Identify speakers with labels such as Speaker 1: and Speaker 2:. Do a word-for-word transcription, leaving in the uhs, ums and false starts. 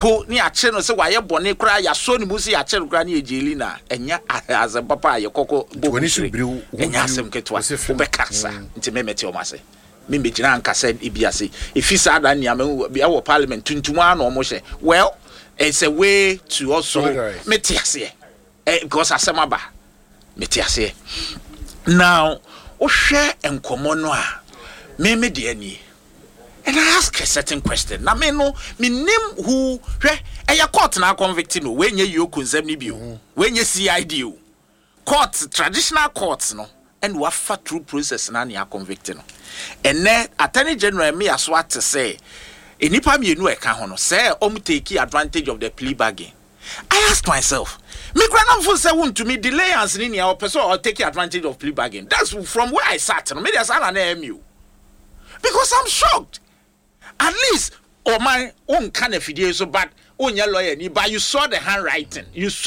Speaker 1: Po ne yɛakyere no sɛ wayɛ bɔne koraa, yɛasɔ ne mu sɛ yɛakyere no koraa ne yɛgyeli no a, ɛnyɛ asɛm papa a yɛkɔkɔ bɔ
Speaker 2: w'ani so
Speaker 1: buhyire.
Speaker 2: Biriw, wo ho
Speaker 1: Ɛnyɛ
Speaker 2: dwiriw,
Speaker 1: asɛm ketewa.
Speaker 2: Wo se fem.
Speaker 1: Wobɛka sa nti memɛte ɔm ase, membɛgyina ankasa ebi ase ɛfi saa da nneɛma ɛwɔ parliament tuntum a na ɔmo hyɛ. Well, it's a way to also
Speaker 2: Solidarize.
Speaker 1: Mete aseɛ, eh, because asɛm aba, mete aseɛ. Now wohwɛ nkɔmmɔ no a, me me deɛ nie, and I ask a certain question na me no menim who hwɛ ɛyɛ court na convict no. Wɔnyɛ EOCO nsɛm no bio, wɔnyɛ C I D o, court, traditional courts no, ɛna wafa through process na ne convict no. Ɛnɛ Attorney General mi aso ate sɛ nnipa mmienu a ɛka ho no sɛ ɔmo take advantage of the plea bargain. I ask myself, me kura nam fo sɛ wuntumi delayance ni nea ɔpɛ sɛ ɔ take advantage of plea bargain. That's from where I sat no. Me deɛ, saa na na ɛyɛ mi o, because I'm shocked. At least ɔman wonka na fidie so, but wonyɛ lawyer ni, but you saw the handwriting, you saw